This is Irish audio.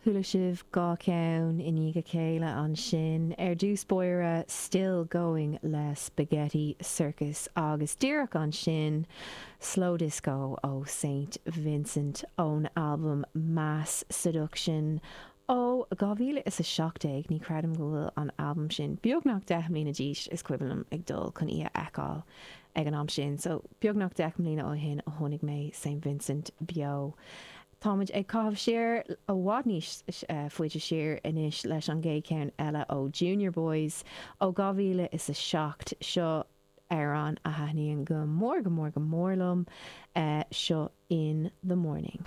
Chuala sibh 2 cheann i ndiaidh a chéile ansin. Ar dtús báire, Still Going le Spaghetti Circus agus díreach ansin, Slow Disco ó Saint Vincent ón albam Mass Seduction ó 2017. Ní chreidim go bhfuil an albam sin beagnach 10 mbliana d'aois, is cuimhin liom ag dul chun í a fheiceáil ag an am sin, so beagnach 10 mbliana ó shin a chonaic mé Saint Vincent beo. Táimid ag caitheamh siar i bhfad níos faide siar anois leis an gcéad cheann eile ó Junior Boys ó 2007. Seo amhrán a thaitníonn go mór go mór go mór liom, seo In The Morning.